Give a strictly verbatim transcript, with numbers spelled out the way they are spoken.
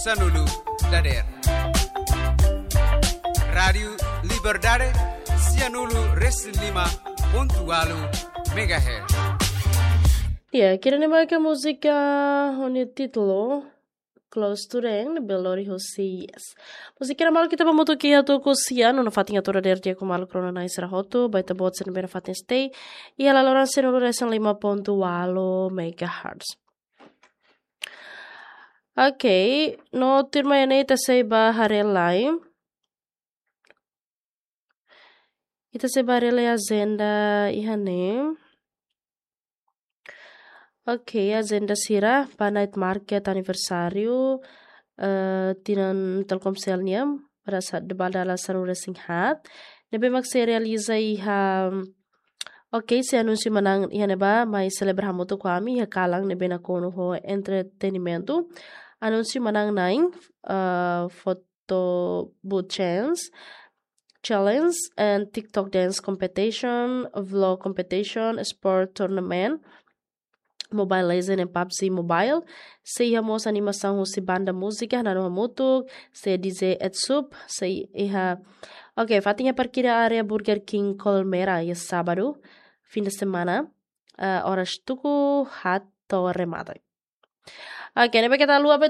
Sanulu dader. Rádiu Liberdade, sianulu resin lima pontu walu megahertz. Ya, kira ni maka múzika ho nia títulu Close to Rain, Belori Jose, yes. Múzika na malu kita bamutu ki hatu ku sian, no fatin atu dader dia ku malu krona na isra hotu, baita bot sen bena fatin stay. Iha laloran sianulu resin lima pontu walu megahertz. Ok, no tuirmai ne'e ita sei ba haree lai. Ita sei ba haree lai ajenda iha ne'e. Ok, ajenda sira ba night market aniversáriu, eh, tinan Telkomsel nian, pada sa-, ba dala sanulu resin haat. Ne'ebé mak sei realiza iha, ok, sei anunsia manán iha ne'ebá, mai selebra hamutuk ho ami iha kalan ne'ebé nakonu ho entretenimentu. Anunsia manán na'in, eh, photo booth chance, challenge and TikTok dance competition, vlog competition, sport tournament, Mobile Legend and PUBG Mobile. Sei iha mós animasaun husi banda múzika, nano hamutuk, sei D J Ed Sup, sei iha. Ok, fatin iha parkida área Burger King Colmera, iha sábadu, fim de semana, eh, oras tuku haat to'o remata. Ok, ne'ebé keta haluha ba